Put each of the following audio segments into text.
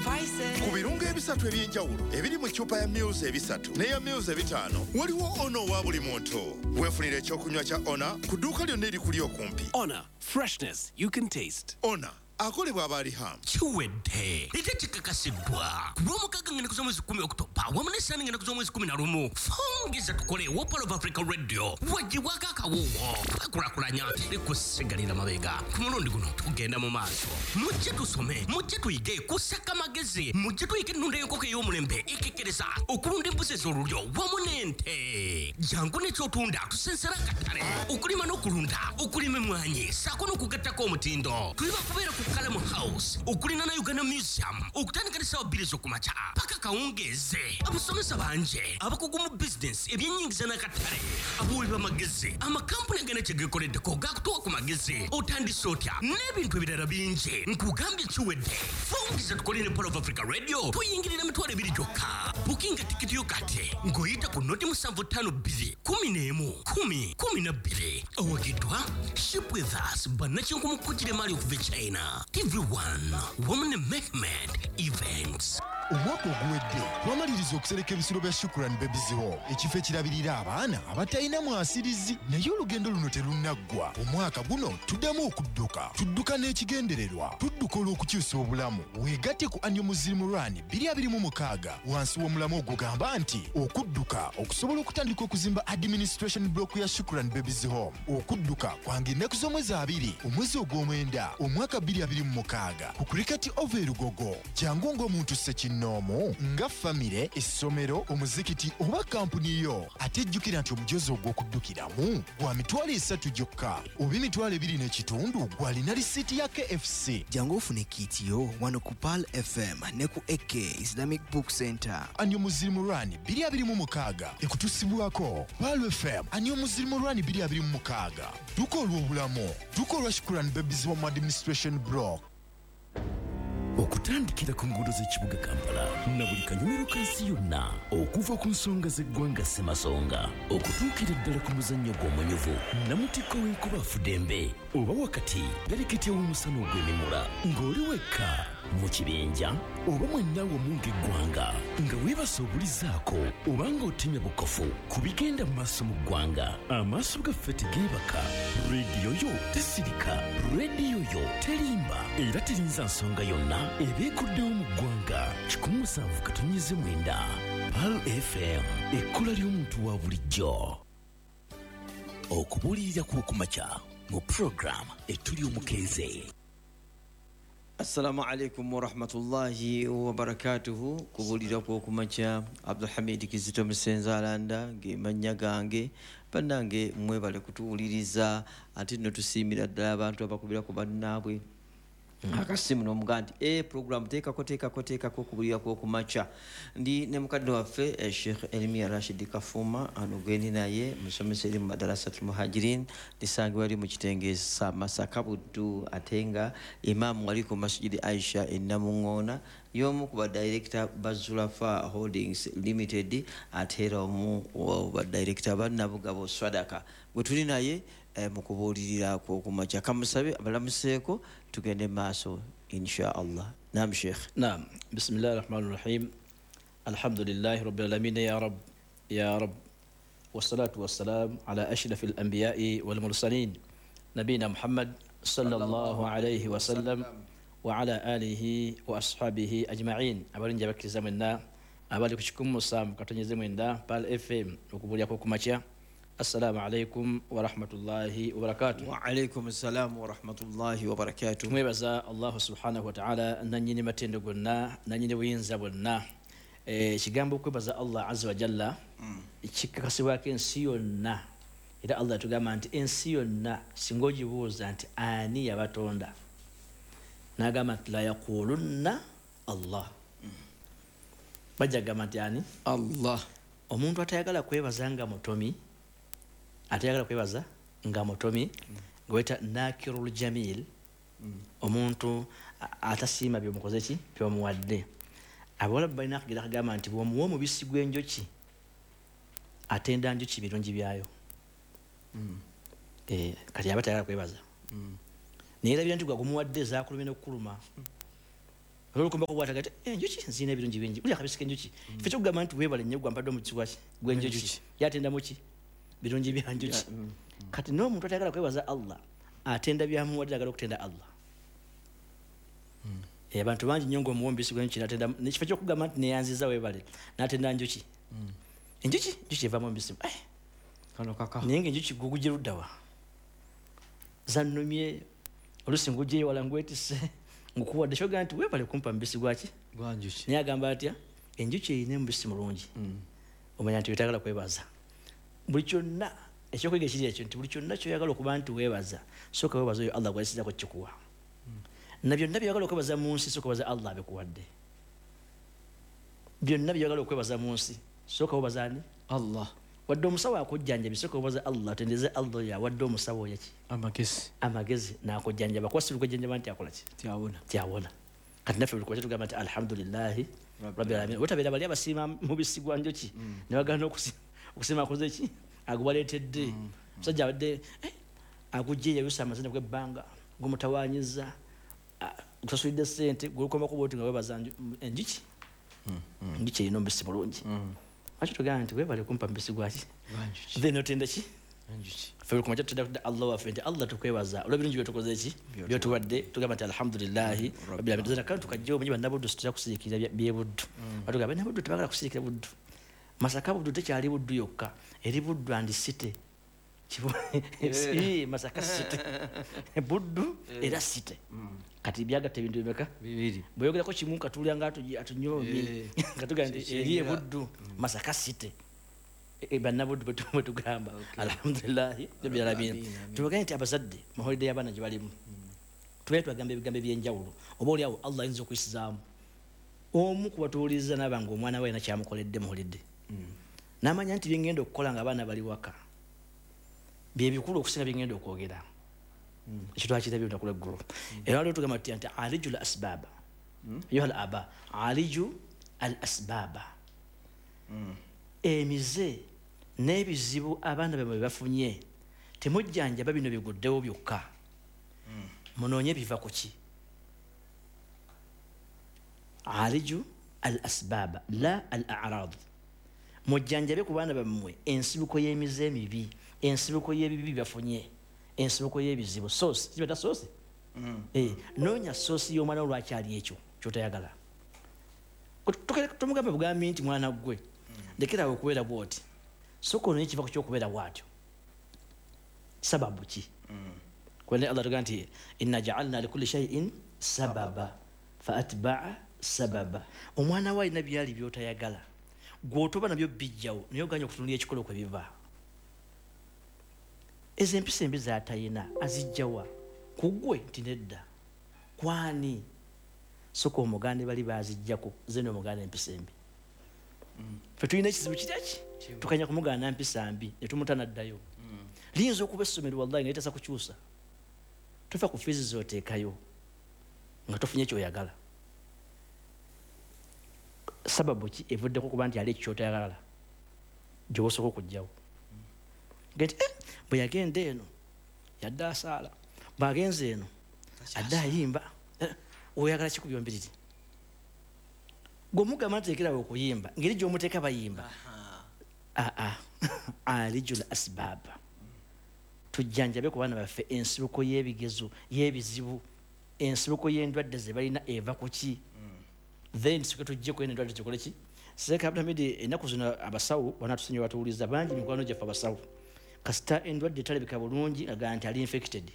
Spices. Ku birungo ebisatu eby'enjawulo ebiri mu ccupa ya mils 300 n'eya mils 500, waliwo Ona owa buli muntu. Weefunira ekyokunywa kya Ona ku dduuka lyonna erikuli okumpi. Honor, freshness you can taste. Ona akolebwa abaali ham. Kiwedde ate kikakasiddwa ku Lwomukaaga ng'ennaku z'omwezi 10 Okutoba wamu n'Essaani ng'ennaku z'omwezi 11, Fungisa Tukole wa Pearl of Africa Radio wagibwako akawuwo. Twekulakulanya, teri kusigalira mabega. Ku mulundi guno tugenda mu maaso. Mujje tusome, mujje tuyige kusaka magezi, mujje tuyige ennunda y'enkoko ey'omulembe ekekkereza, okulunda embuzi ez'olulyo wamu n'ente. Jangu n'ekyotunda tusensera akatale, okulima n'okulunda, okulima emmwanyi ssaako n'okugattako omutindo. Tuli bakubeera ku Kalamu House okuliraana Uganda Museum okutandika ne ssaawa 2 ez'okumakya paka kawungeeze. Abasomesa bangi abakugu mu bizinesi, ebyenyingiza n'akatale, abawi b'amagezi, amakampuni agana kye geekoleddeko gakutuwa ku magezi, otandise otya n'ebintu ebirala bingi. Nkugambye kiwedde. Fungiza Tukole ne Pearl of Africa Radio tuyingirira 20,000 gyokka. Bukinga tikiti yo kati ng'oyita ku 0752 11 10 12. Owagiddwa Ship With Us, bannakinku mu kugira emaali okuva e China, TV1 wamu ne Mehmed Events. Omwaka oguwedde twamaliriza okusereka ebisulo bya Shukran Babies Home, ekifo ekirabirira abaana abatalina mwasirizi. Naye olugendo luno terunnaggwa. Omwaka guno tuddamu okudduka. Tudduka n'ekigendererwa, tudduka olw'okukyusa obulamu. Weegatte ku Annual Muslim Run 2026 wansi w'omulamwa ogugamba nti okudduka okusobola okutandika okuzimba administration block ya Shukran Babies Home. Okudduka kwange ennaku z'omwezi 20 omwezi ogw'omwenda omwaka 2026 ku Cricket Oval e Lugogo. Jangu ng'omuntu ssekinnoomu, nga famire, essomero, omuzikiti oba kampuni yo. Ate jjukira nti omujozi ogw'okuddukiramu gwa 30,000 gyokka oba 25,000 gw'alina risiiti ya KFC. Jangu ofune kit yo wano ku Pearl FM ne ku AK Islamic Book Center. Annual Muslim Run 2026 ekutusibwako Pearl FM. Annual Muslim Run 2026, dduka olw'obulamu, dduka olwa Shukran Babies Home Administration Block. Okutandikira ku nguudo z'ekibuga Kampala na buli kanyumiro ka nsi yonna, okuva ku nsonga z'eggwanga ssemasonga okutuukira ddala ku muzannyo gw'omunyuvu namutikko w'enkuba afudembe oba wakati bereketya w'omusana ogw'emimula, ng'oli wekka, mu kibinja oba mwenna wamu ng'eggwanga, nga weebasa obulizaako oba ng'otemya bukofu ku bigenda mu maaso mu ggwanga, amaaso gaffe tegeebaka, rediyo yo tesirika, rediyo yo terimba era terinza nsonga yonna eba ekuddewo mu ggwanga. 107.9 Pearl FM, ekkula ly'omuntu wa bulijjo. Okubuulirira kw'okumakya mu puroguramu Etuli Omukeeze. Assalamu alaikum warahmatullahi wabarakatuhu. Kubuulira kw'okumakya, Abdulhamid Kizito Musenzalanda ng'emannya gange. Bannange, mwebale kutuwuliriza. Ate nno tusiimira ddala abantu abakubira ku bannaabwe akasimu n'omugaa nti e program teekako, teekako, teekako okubulira kw'okumakya. Ndi ne mukadde waffe Sheikh Elmia Rashid Kafuma ano gwendi naye, musomesa eri mu Madarasatu Muhajirin lisangibwa eri mu kitenge sa Masaka Buddu, ate nga imaamu wali ku Masjidi Aisha e Namuŋŋoona, y'omu ku badirekita ba Zulafa Holdings Limited, ate era omu badirekita ba Nabugabo Swadaka, gwe tuli naye mu kubuulirira kw'okumakya. Kamusabe abalamuseeko tugende maaso insha Allah. Nam Sheikh. Naam, bismillahi rahmani rahim, alhamdulillahi rabbil alamin, ya rab ya rab, wassalatu wassalam ala ashrafi alambiyai walmursalin, nabina Muhammad sallallahu alayhi wasallam wa ala alihi wa ashabihi ajma'in. Abalungi abakkiriza mwenna abali ku 107.9 Pearl FM, okubuulira kw'okumakya, assalamu alaikum warahmatullahi wabarakatuh. Wa alaikum assalamu warahmatullahi wabarakatuh. Tumwebaza Allahu subhanahu wataala, nanyini matendo gonna, nanyini buyinza bwonna. Ekigambo okwebaza Allah azza wa jalla kikakasibwako ensi yonna, era Allah yatugamba nti ensi yonna singa ogibuuza nti ani yabatonda, n'agamba nti la yaqulunna Allah, bajja kugamba nti ani? Allah. Omuntu atayagala kwebaza nga mutomi, atayagala kwebaza nga mutomi, nga weta nakirul jamil, omuntu atasiima byomukoze ki byomuwadde. Abawalabu balina akagera akagamba nti bw'omuwa omubisi gw'enjoki atenda njuki birungi byayo. Kati aba tayagala kwebaza, naye erabira nti gwagumuwadde zakulumye n'okukuluma. Olukumbako bw'ataga ati enjuki nziina ebirungi bingi, buli akabisi k'enjuki. Ffe kyokugamba nti weebale nnyo gwampadde omubisi gwaki gw'enjuki, yatenda muki birungi bya njuki. Kati n'omuntu atayagala kwebaza Allah atenda byamuwadde, ayagala okutenda Allah. Abantu bangi nnyo ng'omuwa omubisi gw'enjuki n'atenda, nekifo ky'okugamba nti neyanziza weebale, n'atenda njuki. Enjuki njuki evaamu omubisi. Kano kaka. Naye ng'enjuki gugugye ludda wa? Zannumye, oluusi ngugyeyo wala ngwetisse, ngukuwadde kyogamba nti weebale kumpa mubisi gwaki? Gwa njuki. Naye agamba atya? Enjuki erina omubisi mulungi. Omanya nti wetayagala kwebaza. Buli kyonna ekyokuyiga ekiri ekyo nti buli kyonna ky'oyagala okuba nti weebaza, sooka weebaza oyo Allah gw'ayisizzaako kikuwa. Na byonna by'oyagala okwebaza mu nsi, sooka weebaza Allah abikuwadde. Byonna by'oyagala okwebaza mu nsi, sooka weebaza ani? Allah. Wadde omusawo akujjanjaba, sooka weebaza Allah, otendeze Allah oyo awadde omusawo oyo ki? Amagezi. Amagezi n'akujjanjaba. Kuba si lukujjanjaba nti akola ki? Tyawona. Tyawona. Kati naffe buli kumakya tugamba nti alhamdulillahi rabbil alamin. Wetabeera bali abasiima mubisi gwa njuki, ne bagaana okusiima akoze ki? Agubaleetedde. Omusajja abadde agujje yayusa amazina gw'ebbanga, gumutawaanyiza, gusasulidde ssente, gulukomako bw'oti nga weebaza enjuki. Enjuki erina omubisi mulungi. Lwaki tugamba nti weebale kumpa mubisi gwaki? Then otenda ki? Enjuki. Ffe buli kumakya tutenda kudda Allah waffe nti Allah tukwebaza olw'ebirungi byotukoze ki? Byotuwadde. Tugamba nti alhamdulillahi rabbil alamin. Tuzana kantu kajja omanyi bannabuddu situtera kusiriikirira byebuddu. Batugamba bannabuddu tebagala kusiriikira buddu. Masaka buddu tekyali buddu yokka, eri buddu and city. Masaka city. Buddu era city. Kati byagatta ebintu bimeka? Bibiri. Bw'oyogerako kimu katulya nga atunyomye. Nga tugamba nti eri ebuddu Masaka city. Bannabuddu bwe tugamba alhamdulillahi rabbil alamin. Tubagambe nti abazadde mu holiday y'abaana gye balimu, tubeere tubagamba ebigambo eby'enjawulo, oba oli awo Allah ayinza okuyisizaamu omu kubatuwuliriza n'aba nga omwana we alina kyamukoledde mu holiday. N'amanya nti byengenda okukola ng'abaana bali waka bye bikulu okusinga byengenda okwogera. Ekyo twakirabye olunaku lw'eggulo. Era waliwo tugamba tuti nti aliju al asbaaba. Ayuha al aba, aliju al asbaaba. Emize n'ebizibu abaana bammwe bye bafunye temujjanjaba bino biguddewo byokka. Munoonye biva ku ki? Aliju al asbaaba la al a'rad. Mujjanjabe ku baana bammwe ensibuko y'emize emibi, ensibuko y'ebibi bafunye, ensibuko y'ebizibu. Source, kibata source? Noonya source y'omwana wo lwakyali ekyo ky'otayagala. Tomugambe bugambi nti mwana ggwe ndekera awo okubeera bw'oti. Sooka onoonye ekiva ku ky'okubeera bw'atyo. Sababu ki? Kubanga Allah tugamba nti inna ja'alna likulli shay'in sababa fa atba'a sababa. Omwana wo alina byali by'otayagala, gw'otoba nabyo bijjawo, naye oganye okutunulira ekikolo kwe biva. Ezo empisa embi z'atayina azijjawa ku ggwe nti nedda. Kwani? Sooka omugande bali baazijjako, ze n'omuganda empisa embi. Ffe tulina ekizibu kiri ki? Tukanya kumugaana mpisa mbi ne tumuta n'addayo. Liyinza okuba essomero wallahi nga litasa kukyusa. Tofa ku fiizi z'oteekayo nga tofunye ky'oyagala. Sababu ki evuddeko kuba nti ali ekyo ky'otayagala gy'oba osooka okuggyawo? Gati bwe yagenda eno yadde asaala, bw'agenze eno adde ayimba. Oyagala ki ku byombiriri? Gw'omugamba nti lekerawo okuyimba, ngeri gy'omuteeka bayimba. Alijul asbaaba. Tujjanjabe ku baana baffe ensibuko y'ebigezo, y'ebizibu, ensibuko y'endwadde ze balina eva ku ki? Then sooka tuggyeko eno endwadde tukole ki? Sheikh Abdulhamid, ennaku zino abasawo banaatusinye batuwuliza bangi mikwano gyaffe abasawo. Kasita endwadde etalabika bulungi agamba nti ali infected.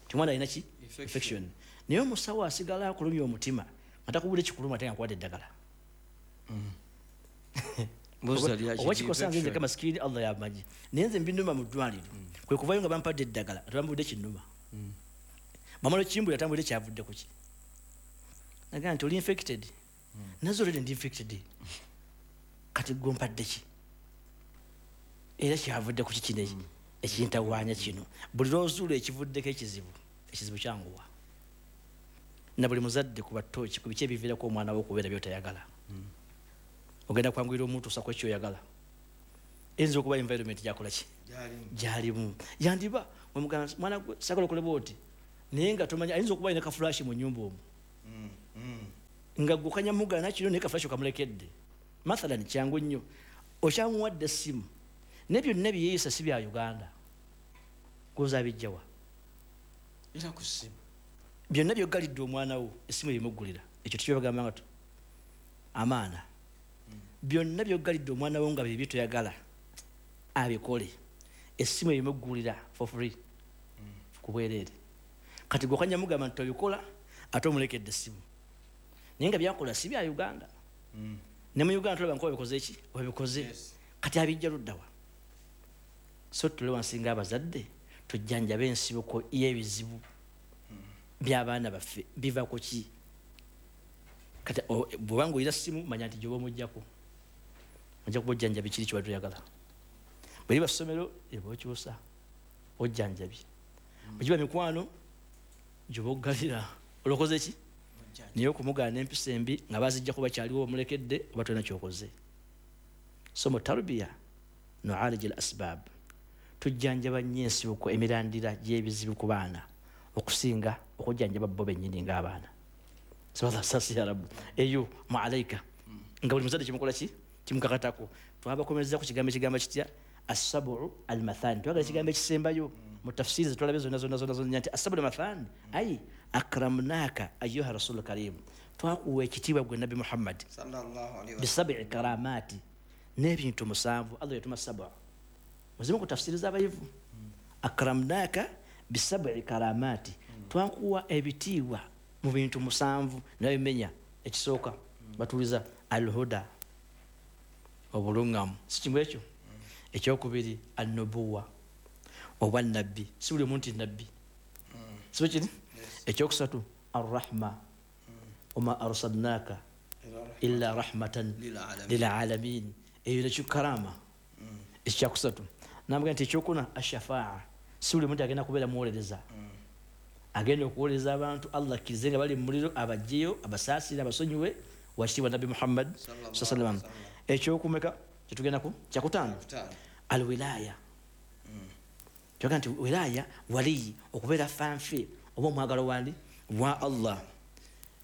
Ti omwana alina ki? Infection. Naye omusawo asigala akulumya omutima nga takubudde kikuluma ate nga akuwadde eddagala. Oba kikosa nze nzeka masikini Allah yamanyi. Naye nze mbinuma mu ddwaliro. Kwe kuvayo nga bampadde eddagala ate bambudde kinnuma. Bamala okimbulira tambudde kyavudde ku ki? Nagamba nti oli infected. Nazo already ndi infected. Kati gwe ompadde ki? Era kyavudde ku ki kino ekintawaanya kino? Buli lw'ozuula ekivuddeko ekizibu, ekizibu kyanguwa. Na buli muzadde kuba ttooki ku biki ebiviirako omwana we okubeera by'otayagala. Ogenda kwanguyira omutuusa ku ekyoyagala. Eyinza okuba environment gy'akola ki? Gy'alimu. Yandiba mwana gwe saagala okole bw'oti, naye nga tomanyi ayinza okuba alina ka flash mu nnyumba omwo. Nga gukanya mugana kino naye kafulashi okamulekedde. Mathalan kyangu nnyo, okyamuwadde essimu ne byonna byeyeeyisa si bya Uganda, goza abijjawa era ku ssimu. Byonna byoggalidde omwana wo essimu ebimuggulira. Ekyo tekyobagamba nga amaana. Byonna byoggalidde omwana wo nga byebi toyagala abikole, essimu ebimuggulira for free, ku bwereere. Kati gwokanya mugamba nti tobikola, ate omulekedde essimu, naye nga byakola si bya Uganda. Ne mu Uganda tulaba nkuba bikoze ki wabikoze. Kati abijja luddawa? So tule wansi nga abazadde tujjanjabe ensibuko y'ebizibu by'abaana baffe biva ku ki. Kati bw'oba ng'olina ssimu, manya nti gy'oba omuggyako ojja kuba ojjanjabi kiri ky'obadde oyagala. Bwe liba ssomero eba okyusa ojjanjabye, bwe giba mikwano gy'oba oggalira olokoze ki, naye okumugaana empisa embi nga bazijjako bakyaliwo omulekedde oba tolina ky'okoze. So mu tarbiya nualija al asbab, tujjanjaba nnyo ensibuko emirandira gy'ebizibu ku baana okusinga okujjanjaba bo bennyini ng'abaana. Sasi ya Rabbi eyo mualaika nga buli muzadde kimukola ki kimukakatako. Twabakomereza ku kigambo ekigamba kitya assabu almathani. Twagala ekigambo ekisembayo mu tafsiri zetwalabe zonna zonna zonna zonna nti assabu almathani ai akramnaka ayuha rasul karim, twakuwa ekitiibwa gwe Nabbi Muhammad sallallahu alaihi wasallam bisabi karamati, n'ebintu musanvu. Allah yatuma saba muzimu ku tafsiri z'abayivu. Akramnaka bisabi karamati, twakuwa ebitiibwa mu bintu musanvu nabimenya. Ekisooka batuliza alhuda, obulungamu, si kimu ekyo. Ekyokubiri annubuwa, obwannabbi, si buli omuntu nabbi, si kiri. Ekyokusatu arrahma, wama arsalnaka illa rahmatan lilalamin, eyo nekyo karama. Ekyakusatu namuga nti ekyokuna ashafaa, si buli muntu agenda kubeera muwolereza, agenda okuwolereza abantu Allah akkirize nga bali mu muliro abajjeyo abasaasire abasonyiwe wakitiibwa Nabbi Muhammad sallallahu alaihi wasallam. Ekyokumeka kyetugendako kyakutaano alwilaya. Kyoga nti wilaya waliyi, okubeera fanfe oba omwagalo wandi wa Allah.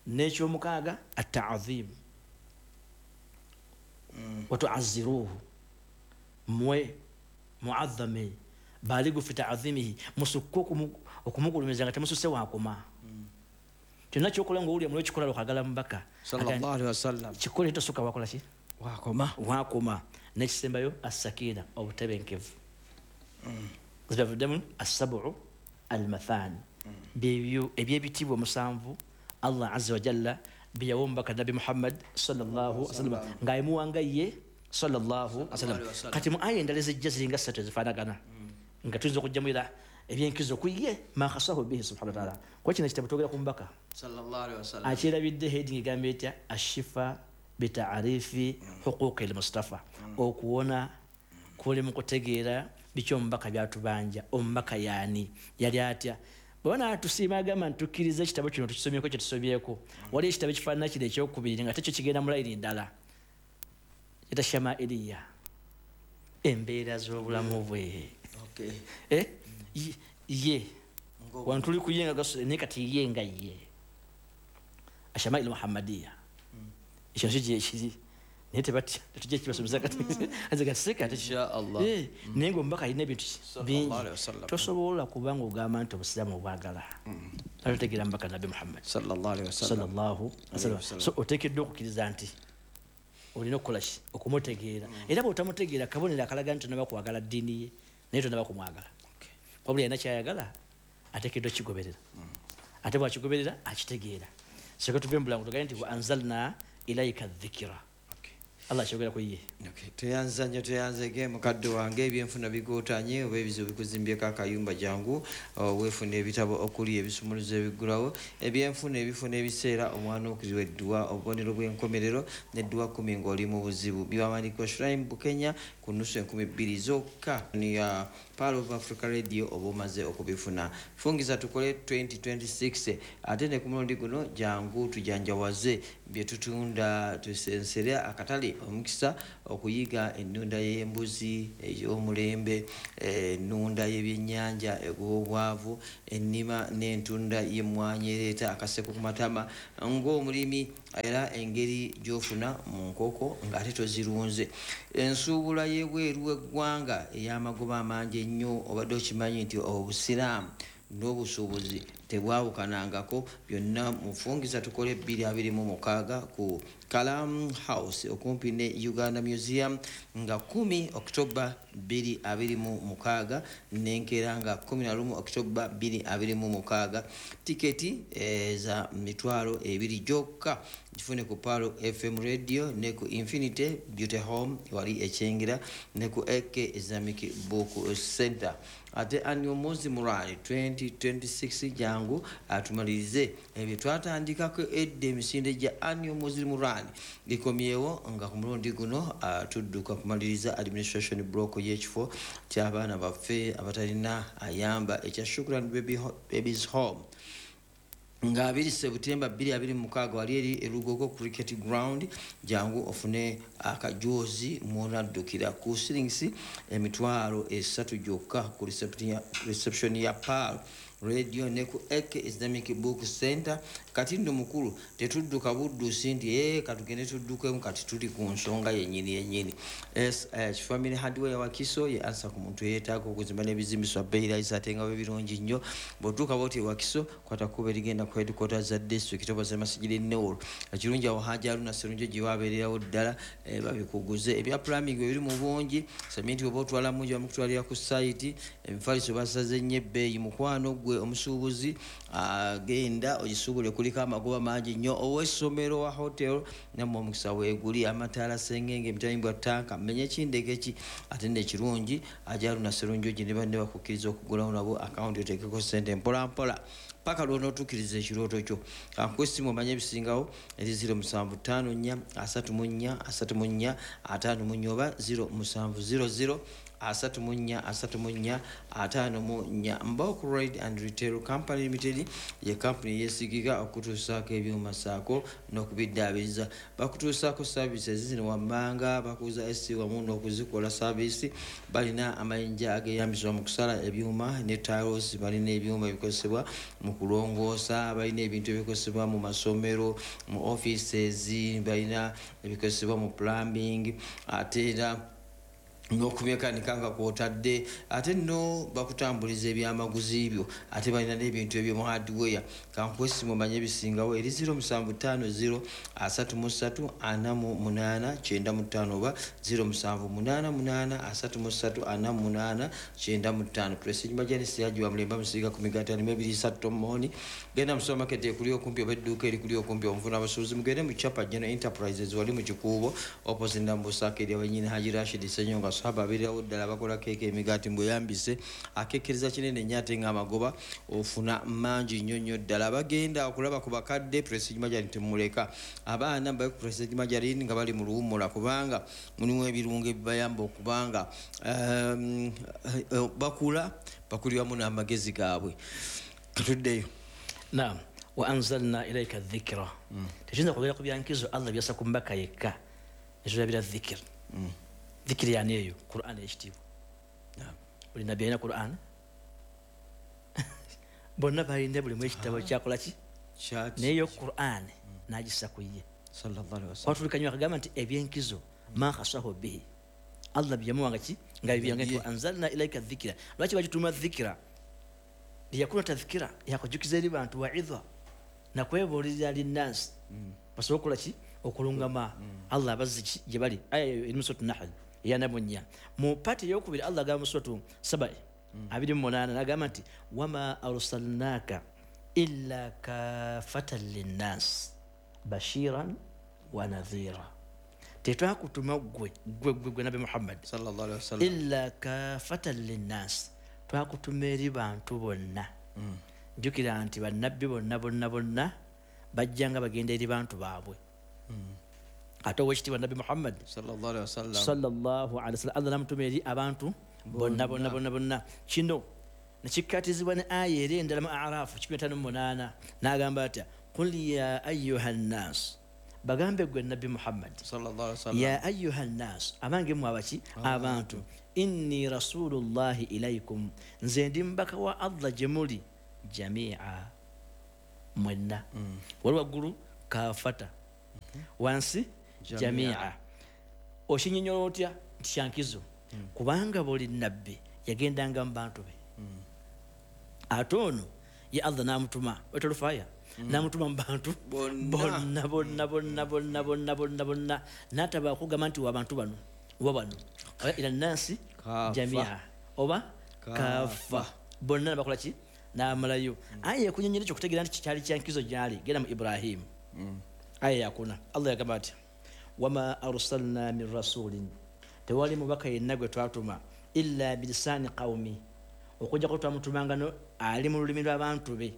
N'ekyomukaaga ataazim, watuaziruhu, mwe muazame baligu fi taazimihi, musukke okumugulumiza nga temususe wakoma. Kyonna kyokola ng'owulira muliro kikola lwakagala mubaka sallallahu alaihi wasallam, kikole tosuka wakola ki wakoma wakoma. N'ekisembayo assakina, obutebenkevu. Zibavuddemu assabu almathani, byebyo ebyebitiibwa musanvu Allah azza wa jalla byeyawa omubaka Nabbi Muhammad sallallahu alaihi wasallam ng'ayimuwanga ye sallallahu alaihi wasallam. Kati mu aya endala ezijja ziringa ssatu ezifaanagana nga tuyinza okugjamu era ebyenkizo ku ye ma khasahu bihi subhanahu wa taala. Kuba kino ekitabo twogera ku mubaka sallallahu alaihi wasallam, akyerabidde heading egamba etya ashifa bitaarifi huquqi lmustafa, okuwona kuli mu kutegeera biki omubaka byatubanja, omubaka yaani yali atya. Bwe banaatusiima agamba nti tukkiriza ekitabo kino tukisomyeko kye tusobyeko. Waliwo ekitabo ekifaanana kino ekyokubiri nga tekyo kigenda mu layini ndala, kita shamailiya, embeera z'obulamu bwe. Ye wano tuli ku ye nga naye kati ye nga ye ashamail muhammadiya, ekyo nakyo gyekiri naye tebatya tetujja kibasomesa kati nze kaseka inshallah. Naye ng'omubaka alina ebintu bingi tosobola kuba ng'ogamba nti obusiraamu obwagala atotegeera mubaka Nabbi Muhammad sallallahu alaihi wasallam. So oteekeddwa okukkiriza nti olina okukola ki okumutegeera. Era bw'otamutegeera kabonero akalaga nti tonaba kwagala ddiini ye naye tonaba kumwagala. Wabula alina kyayagala ateekeddwa kigoberera, ate bw'akigoberera akitegeera. Soka tuve mu bulango tugambe nti wa anzalna ilaika dhikra, Allah kyogera ku ye. Toyanza nnyo toyanzege mukadde wange, ebyenfuna bigootanye oba ebizibu bikuzimbyeko akayumba, jangu weefuna ebitabo okuli ebisumuluzo ebiggulawo ebyenfuna ebifo n'ebiseera, omwana okuzibwa edduwa, obubonero bw'enkomerero n'edduwa 10 ng'oli mu buzibu. Biwawandiikibwa Shrine Bukenya ku nusu 2000 zokka ya Pearl of Africa Radio oba omaze okubifuna. Fungiza tukole 2026 ate ne ku mulundi guno jangu tujanjawaze Bye tutunda tusensere akatale omukisa okuyiga ennunda y'embuzi ey'omulembe, ennunda y'ebyennyanja eg'obwavu, ennima n'entunda y'emmwanyi ereeta akaseko ku matama ng'omulimi, era engeri gy'ofuna mu nkoko ng'ate tozirunze. Ensuubula y'ebweru w'eggwanga ey'amagoba amangi ennyo. Obadde okimanyi nti obusiraamu n'obusuubuzi tebwawukanangako? Byonna mufungiza tukole 2026 ku Kalam House okumpi ne Uganda Museum nga 10 October 2026 n'enkeera nga 11 October 2026. Tiketi za 20,000 gyokka. Gifune ku Palo FM Radio ne ku Infinity Beauty Home wali Ekyengera ne ku AK Islamic Book Center. Ate annual Muslim Rally 2026, jangu atumalirize ebyo twatandikako edda. Emisinde gya annual Muslim Rally gikomyewo nga ku mulundi guno tudduka kumaliriza administration block y'ekifo ky'abaana baffe abatalina ayamba ekya Shukran Babies Home nga 2 September 2026 wali eri Erugogo Cricket Ground. Jangu ofune akajozi mwonaddukira ku shillings 300,000 gyokka ku reception ya Pearl Radio ne ku AK Islamic Book Center. Kati nno mukulu, tetudduka buddusi nti katugende tuddukemu. Kati tuli ku nsonga yennyini yennyini. SH Family Hardware Wakiso ye ansa ku muntu yeetaaga okuzimba n'ebizimbiswa bbeeyi ate nga bwe birungi nnyo. Bw'otuuka bwoti Wakiso, kwata kkubo erigenda ku headquarters za district oba zemasijiri Newol. Ekirungi awo Haji Aruna Serunjo gye wabeererawo ddala, babikuguze. Ebya plumbing bwe biri mu bungi, seminti oba otwala mungi bamukutwalira ku site, emifaliso basaze nnyo ebbeeyi. Mukwano gwe omusuubuzi, agenda ogisuubule, kuliko amagoba mangi nnyo. Ow'essomero wa hotel, nammwe omukisa weeguli. Amataala, sengenge, emitayimbwa, tanka, menye kindeke ki. Ate nekirungi, Haji Aruna Serunjogi ne banne bakukkiriza okugulawo nabo akawunti oteekeko sente mpolampola paka lwonootuukiriza ekirooto kyo. Kankuwa essimu omanye ebisingawo eri 0754 34 34 54 oba 0700 34 34 54. Mbok Ride and Retail Company Limited ye kampuni yeesigika okutuusaako ebyuma saako n'okubiddaabiriza. Bakutuusaako services zino wammanga: bakuza AC wamu n'okuzikola service, balina amayinja ageeyambisibwa mu kusala ebyuma ne tiles, balina ebyuma ebikozesebwa mu kulongoosa, balina ebintu ebikozesebwa mu masomero, mu offices, balina ebikozesebwa mu plumbing ate era n'okumekanika nga kwotadde. Ate nno bakutambuliza ebyamaguzi byo, ate balina n'ebintu ebyomu hardware. Kankuwa essimu omanye ebisingawo eri 0750 33 48 95 oba 0788 33 48 95. Prestige Majanisi yagiwa mulemba musiga ku migaati 52 tomoni. Genda mu supermarket ekuli okumpi oba edduuka erikuli okumpi omunfuna abasuubuzi. Mugende mu Chapa General Enterprises wali mu Kikuubo opposite Nambusaka eri awenyini Haji Rashid Senyonga sahaba abeererawo ddala. Bakola keeke, emigaati mbweyambise akekereza kinene nnyo ate ng'amagoba ofuna mangi nnyo nnyo ddala. Bagenda okulaba ku bakadde, Prestige Majarin temuleka. Abaana babe ku Prestige Majarin nga bali mu luwummula, kubanga mulimu ebirungo ebibayamba okubanga bakula bakuliramu n'amagezi gaabwe. Katuddeyo. Naam, wa anzalna ilaika dhikra. Tekiyinza kubeera ku byankizo Allah byassa ku mbaka yekka netulabira dhikr. Dhikr yani eyo Quran ekitiibwa. Buli nabbi alina Quran, bonna balina buli mu ekitabo kyakola ki, naye yo Quran n'agissa ku ye. Sallallahu alaihi wasallam. Kwatulikanywa akagamba nti ebyenkizo ma khasahu bihi, Allah byeyamuwanga ki nga bibyange nti anzalna ilaika dhikra. Lwaki bagituuma dhikra? Liyakuna tadhkira, yakujukiza eri bantu, waidha, nakwebuulirira, linnansi basobole okukola ki? Okulungama. Allah abazzi ki gye bali. Aya eyo eri mu Suratu Nahl eyanamunya. Mu pati eyokubiri Allah agamba mu Suratu Sabai 28, nagamba nti wama arsalnaka illa kafatan linnasi bashiran wa nadhira. Tetwakutuma gwe gwe gwe gwe Nabi Muhammad sallallahu alaihi wasallam illa kafatan linnasi, twakutuma eri bantu bonna. Jjukira nti bannabbi bonna bonna bonna bajjanga bagenda eri bantu baabwe. Ate owekitiibwa Nabbi Muhammad sallallahu alaihi wasallam sallallahu alaihi wasallam, Allah namutuma eri abantu bonna bonna bonna bonna. Kino nekikkatizibwa ne aya eri endala mu Arafu 158, n'agamba atya? Qul ya ayuha nnas Bagambe gwe Nabbi Muhammad sallallahu alaihi wasallam, ya ayuha nnas, abange mmwe abaki abantu, inni rasulullahi ilaikum, nze ndi mubaka wa Allah gye muli jamia, mwenna. Wali waggulu kafata, wansi jamia. Okinyonnyola otya nti kyankizo? Kubanga buli nabbi yagendanga mu bantu be, ate ono ye Allah n'amutuma wetolufaya n'amutuma mu bantu bonna bonna bonna bonna bonna bonna bonna, n'ataba okugamba nti wa bantu bano oba bano, ila nnansi jamia oba kafa, bonna bakola ki n'amalayo. Aya ekunyonnyola ekyo okutegeera nti kyali kyankizo gyali, genda mu Ibrahimu aya yakuna, Allah yagamba ati wama arsalna min rasulin, tewali mubaka yenna gwe twatuma illa bilisani qawmi, okujjako twamutumanga ali mu lulimi lw'abantu be,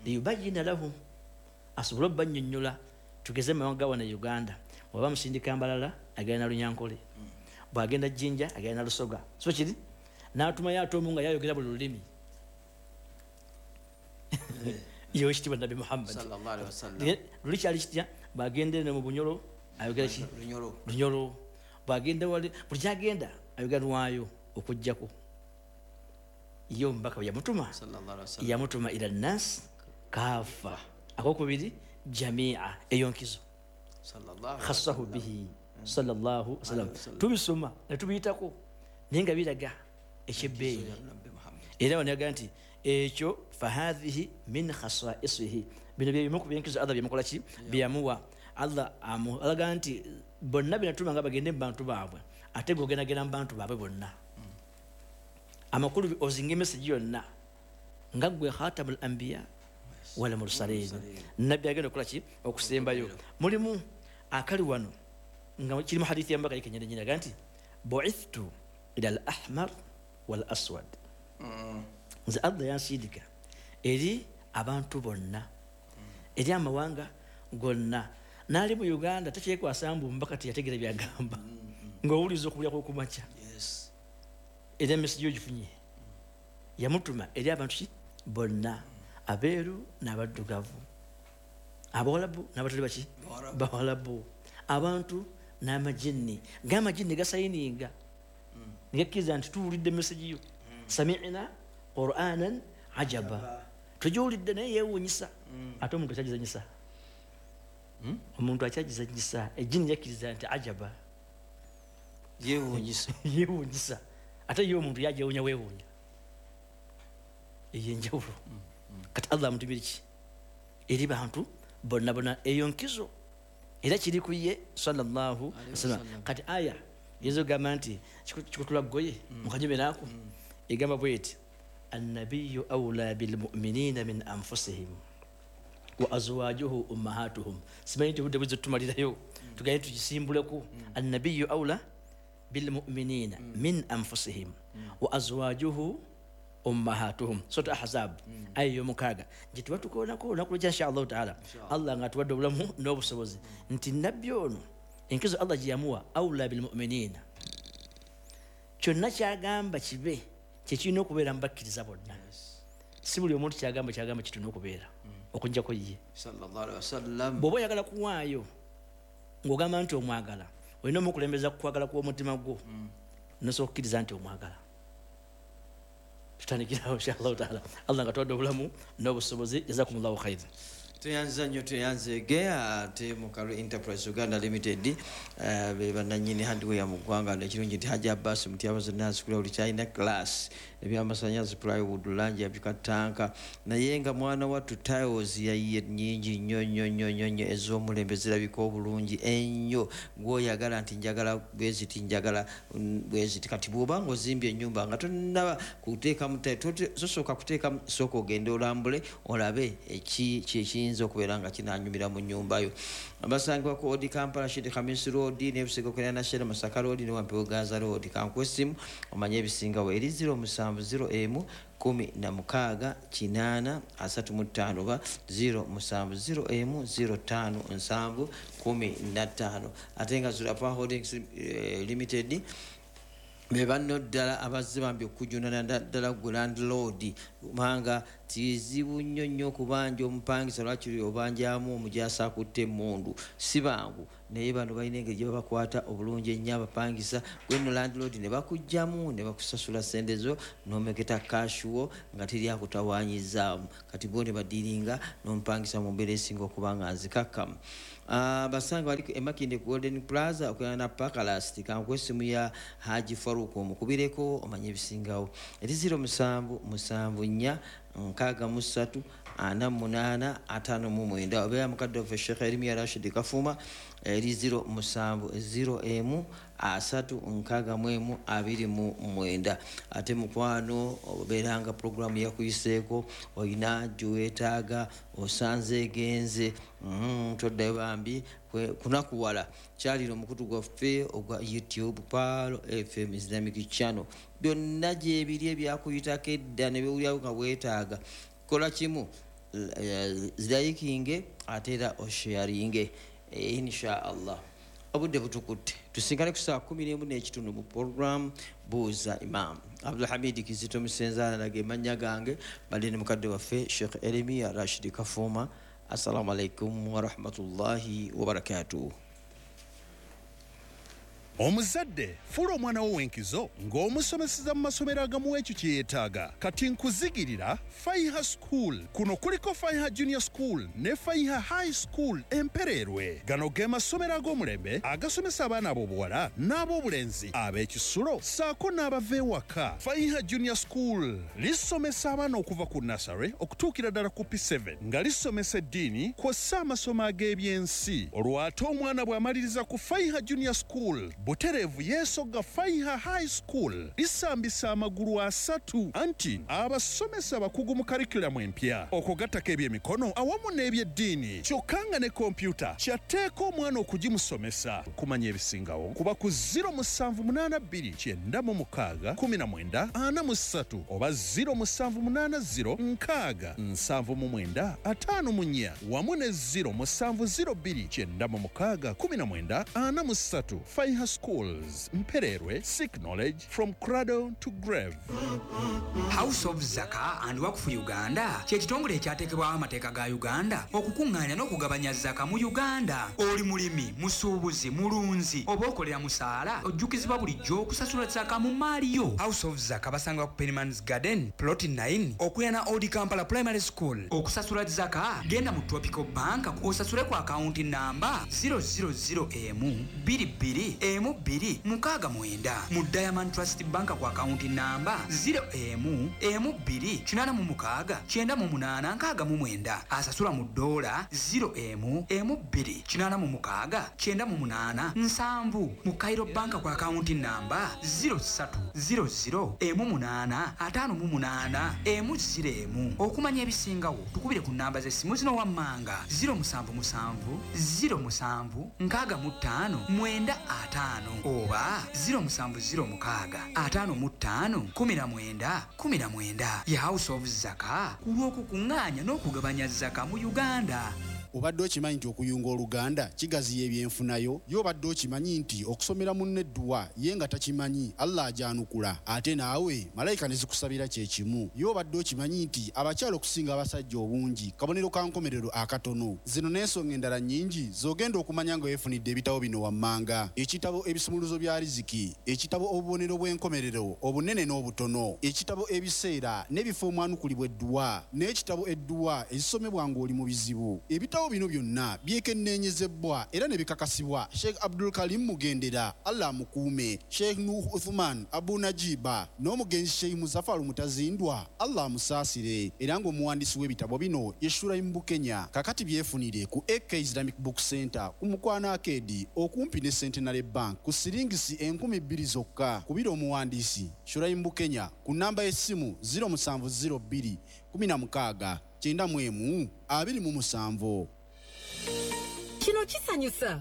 liyubayyina lahum, asobole obbannyonnyola. Tugeze mu mawanga wano e Uganda, bw'aba musindika Mbalala agenda na Lunyankole, bw'agenda Jinja agenda na Lusoga, so kiri n'atumayo ate omu nga yayogera buli lulimi. Yewe ekitiibwa Nabbi Muhammad sallallahu alaihi wasallam. Luli kyali kitya? Bw'agenda eno mu Bunyoro ayogera ki? Lunyoro. Bw'agenda wali, buli kyagenda ayogera lwayo okuggyako ye omubaka bwe yamutuma yamutuma ila nnas kafa, akokubiri jamia, eyo nkizo khassahu bihi sallallahu alaihi wasallam. Tubisoma ne tubiyitako naye nga biraga ekyebbeeyi. Era wano yagamba nti ekyo fahadhihi min khasaisihi, bino bye bimu ku byenkizo Allah byemukola ki byeyamuwa. Allah alaga nti bonna benatuma nga bagende mu bantu baabwe, ate gogendagenda mu bantu baabwe bonna. Amakulu ozinga emesegi yonna nga gwe khatamul anbiya wal mursalin, nabbi agenda okukola ki okusembayo. Mulimu akali wano nga kiri mu hadithi ya mbaka yekenyenyini, aga nti bu'ithtu ila al ahmar wal aswad, nze Allah yansindika eri abantu bonna, eri amawanga gonna. N'ali mu Uganda takyekwasa mbu mbaka teyategeera byagamba, ng'owuliza okubulya kw'okumakya era emesegi ogifunye. Yamutuma eri abantu ki bonna, abeeru n'abaddugavu, abawalabu n'abatali baki bawalabu, abantu n'amajinni. Ng'amajinni gasayininga negakkiriza nti tuwulidde emesegi yo, sami'na qur'anan ajaba, tugiwulidde naye yeewuunyisa. Ate omuntu akyagizanyisa, omuntu akyagizanyisa, ejjini yakkiriza nti ajaba, yeewuunyisa yeewuunyisa. Ate ye omuntu yajewuunya weewuunya, eyo enjawulo. Kati Allah amutumire ki eri bantu bonna bonna, eyo nkizo era kiri ku ye sallallahu alaihi wasallam. Kati aya yinza okugamba nti kikutula ggoye mukanyumiraako, egamba bweti annabiyu awla bilmuminina min anfusihim wa azwajuhu ummahatuhum. Simanyi nti obudde buzze tumalirayo, tugende tukisimbuleko. Annabiyu awla bilmuminina min anfusihim wa azwajuhu ummahatuhum, Sura Ahzab aya y'omukaaga, gye tuba tukoonako olunaku lw'enkya insha Allahu taala. Allah nga atuwadde obulamu n'obusobozi nti nabbi ono enkizo Allah gye yamuwa awla bilmuminina, kyonna kyagamba kibe kyekirina okubeera mu bakkiriza bonna. Si buli omuntu kyagamba kyagamba kitulina okubeera okuggyako ye sallallahu alaihi wasallam. Bw'oba oyagala kuwaayo ng'ogamba nti omwagala, olina omukulembeza kukwagala kw'omutima gwo, nosobola okukkiriza nti omwagala. Tutandikirawo insha Allahu taala. Allah nga atuwadde obulamu n'obusobozi. Jazakumullahu khairan. Tweyanza nnyo, tweyanzeege ate Mukalu Enterprise Uganda Limited be bannannyini hardware mu ggwanga. Ekirungi nti Hajji Abbas Mutyaba zonna azikula buli kyalina class, ebyamasanyalaze, plywood, langi yabika ttanka, naye nga mwana wattu tiles yayiye nnyingi nnyo nnyo nnyo nnyo nnyo ez'omulembe zirabika obulungi ennyo. Gw'oyagala nti njagala bweziti, njagala bweziti. Kati bw'oba ng'ozimbye ennyumba nga tonnaba kuteekamu tosooka kuteekamu, sooka ogende olambule olabe ekiyinza okubeera nga kinanyumira mu nnyumba yo. Basangibwa ku Odi Kampala, Shidi Khamis Road, n'ebisego kuliraana Shell Masaka Road ne Wampewo Gaza Road. Kankuwe essimu omanye ebisingawo eri 0701 16 8 35 oba 0701 05 7 15. Ate nga Zulapa Holdings Limited Be banno ddala abazze bambi okujunana ddala gwe landlord, kubanga kizibu nnyo nnyo okubanja omupangisa, lwakiri obanjamu omujaasi akutte emmundu, si bangu. Naye bano balina engeri gye babakwata obulungi ennyo abapangisa. Gwe nno landlord ne bakugjamu ne bakusasula sente zo n'omeketa cash wo nga teri akutawanyizaamu. Kati bo ne badiringa n'omupangisa mu mbeera esinga okuba nga nzikakkamu. Basanga bali emakinde ku Golden Plaza okulana na Pakalast. Kankuwa essimu ya Haji Faruk, omukubireko omanye ebisingawo, eri 0774 63 48 59. Obeera mukadde waffe Sheekh Erimiya Rashid Kafuma, eri 0701 361 29. Ate mukwano, obeeranga puroguramu yakuyiseeko, olina gyeweetaaga, osanze egenze, toddayo bambi kunakuwala. Kyalira omukutu gwaffe ogwa YouTube, Pearl FM Islamic Channel, byonna gyebiri ebyakuyitako edda ne bewulirawo nga weetaaga. Kola kimu, zirayikinge ate era osharinge, insha Allah. Obudde butukutte, tusinkane ku saa 11:30 mu program Buuza Imam. Abdulhamidi Kizito Musenzaala nage mannya gange, badde ne mukadde waffe Sheikh Eremiya Rashidi Kafuuma. Assalamu alaikum warahmatullahi wabarakatuh. Omuzadde, fuula omwana wo w'enkizo ng'omusomeseza mu masomero agamuwa ekyo kye yeetaaga. Kati nkuzigirira Faiha School. Kuno kuliko Faiha Junior School ne Faiha High School Empereerwe. Gano ge masomero ag'omulembe agasomesa abaana ab'obuwala n'ab'obulenzi ab'ekisulo ssaako n'abava ewaka. Faiha Junior School lisomesa abaana okuva ku nursery okutuukira ddala ku P7, nga lisomesa eddiini kw'ossa amasomo ag'ebyensi. Olwo ate omwana bw'amaliriza ku Faiha Junior School, butereevu yeesogga Faiha High School. Lisambisa amagulu asatu, anti abasomesa abakugu mu curriculum empya, okugattako ebyemikono awamu n'ebyeddiini, kyokka nga ne kompyuta kyatteeka omwana okugimusomesa. Kumanya ebisingawo kuba ku 0782 96 19 43 oba 0780 6 79 54 wamu ne 0702 96 19 43. Faiha Schools, Mpererwe, seek knowledge from cradle to grave. House of Zaka and Wakfu Uganda kye kitongole ekyateekebwawo amateeka ga Uganda okukuŋŋaanya n'okugabanya zaka mu Uganda. Oli mulimi, musuubuzi, mulunzi oba okolera musaala, ojjukizibwa bulijjo okusasula zaka mu maali yo. House of Zaka basangibwa ku Penimans Garden Plot 9 okuliraana Old Kampala Primary School. Okusasula zaka, genda mu Tropical Bank osasule ku akawunti namba 000 22 12 69, mu Diamond Trust Bank ku akawunti namba 0 12 86 98 69. Asasula mu dola, 0 12 86 98 70, mu Cairo Bank ku akawunti namba 03 00 8 58 1. Okumanya ebisingawo tukubire ku namba z'essimu zino wammanga: 077 07 65 95 oba 0706 55 19 19. Ye House of Zaka ku lw'okukuŋŋaanya n'okugabanya zaka mu Uganda. Obadde okimanyi nti okuyunga oluganda kigaziya ebyenfunayo? Ye obadde okimanyi nti okusomera munno edduwa ye nga takimanyi, Allah agyanukula, ate naawe malayika ne zikusabira kyekimu? Ye obadde okimanyi nti abakyala okusinga abasajja obungi kabonero ka nkomerero akatono? Zino n'ensonga endala nnyingi z'ogenda okumanya nga weefunidde ebitabo bino wammanga: ekitabo Ebisumuluzo bya Riziki, ekitabo Obubonero bw'Enkomerero Obunene n'Obutono, ekitabo Ebiseera n'Ebifo Omwanukulibwa Edduwa, n'ekitabo Edduwa Ezisomebwa Ng'oli mu Bizibu. Ebitabo bino byonna byekenneenyezebwa era ne bikakasibwa Sheikh Abdul Karim Mugendera, Allah amukuume, Sheikh Nuh Uthman Abu Najiba n'omugenzi Sheikh Muzafaru Mutazindwa, Allah amusaasire, era ng'omuwandiisi w'ebitabo bino ye Shuraim Bukenya. Kakati byefunire ku AK Islamic Book Center ku Mukwano Arcade okumpi ne Centenary Bank ku siringisi 2000 zokka. Kubira omuwandiisi Shuraim Bukenya ku namba y'essimu 0702 16 91 27. Kino kisanyusa.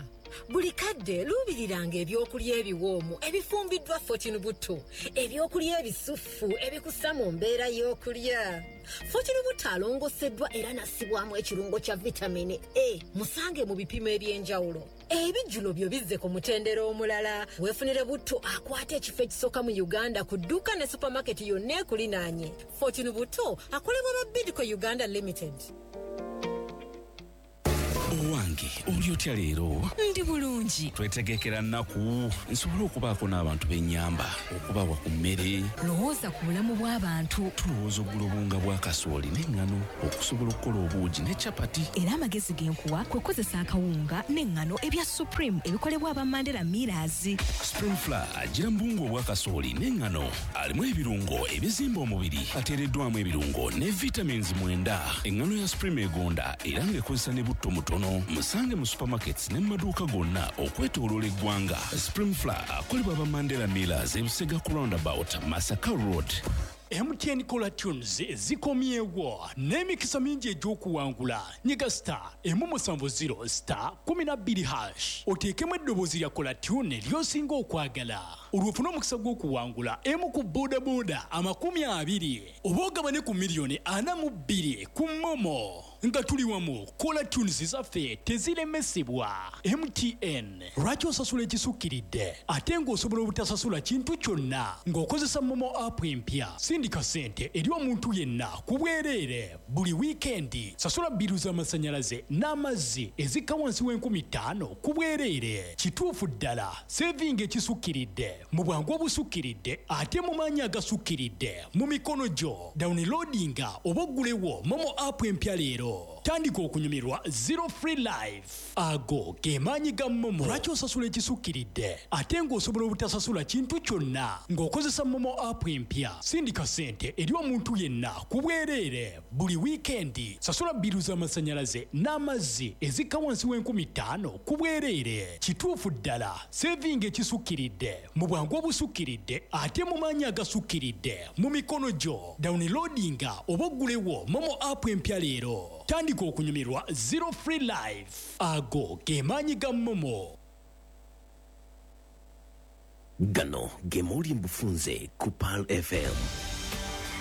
Buli kadde luubiriranga ebyokulya ebiwoomu ebifumbiddwa Fortune Butto, ebyokulya ebisuffu ebikussa mu mbeera y'okulya. Fortune Butto alongoseddwa era nassibwamu ekirungo kya vitamini A. Musange mu bipimo eby'enjawulo. Ebijjulo byo bizze ku mutendera omulala. Weefunire butto akwata ekifo ekisooka mu Uganda ku dduuka ne supamaketi yonna ekulinaanye. Fortune butto akolebwa ba Bidco Uganda Limited. Owange, oli otya leero? Ndi bulungi. Twetegekera nnaku nsobole okubaako n'abantu b'ennyamba, okubawa ku mmere. Lowooza ku bulamu bw'abantu. Tulowooza okugula obuwunga bwa kasooli n'eŋŋano okusobola okukola obuugi ne capati. Era amagezi ge nkuwa kwe kukozesa akawunga n'eŋŋano ebya Supreme ebikolebwa aba Mandela Millers. Supreme Flour agira mu buwunga obwa kasooli n'eŋŋano, alimu ebirungo ebizimba omubiri, ateereddwamu ebirungo ne vitamins 9. Eŋŋano ya Supreme egonda era ng'ekozesa ne butto mutono. Musange mu supermarkets ne mu maduuka gonna okwetooloola eggwanga. Supreme Flour akolebwa aba Mandela Millers, Ebusega ku roundabout, Masaka Road. MTN Caller Tunes zikomyewo n'emikisa mingi egy'okuwangula. Nyiga star 170 star 12 hash, oteekemu eddoboozi lya Caller Tune ly'osinga okwagala, olwo ofune omukisa gw'okuwangula emu ku bodaboda 20 oba ogabane ku miliyoni 42 ku MoMo. Nga tuli wamu, Caller Tunes zaffe teziremesebwa. MTN, lwaki osasula ekisukkiridde ate ng'osobola obutasasula kintu kyonna ng'okozesa MoMo app empya? Sindika ssente eri omuntu yenna ku bwereere buli wiikendi. Sasula bbiiru z'amasannyalaze n'amazzi ezikka wansi w'enkumi 5 ku bwereere. Kituufu ddala, sevinga ekisukkiridde mu bwangu obusukkiridde ate mu maanyi agasukkiridde mu mikono gyo. Downloadinga oba oggulewo MoMo app empya leero, tandika okunyumirwa zero free life. Ago ge maanyi ga MoMo. Lwaki osasula ekisukkiridde ate ng'osobola obutasasula kintu kyonna ng'okozesa MoMo app empya? Sindika ssente eri omuntu yenna ku bwereere buli wiikendi. Sasula bbiiru z'amasannyalaze n'amazzi ezikka wansi w'enkumi 5 ku bwereere. Kituufu ddala, sevinga ekisukkiridde mu bwangu obusukkiridde ate mu maanyi agasukkiridde mu mikono gyo. Downloadinga oba oggulewo MoMo app empya leero, tandika okunyumirwa zero free life. Ago ge maanyi ga MoMo. Gano ge mawulire mu bufunze ku Pearl FM.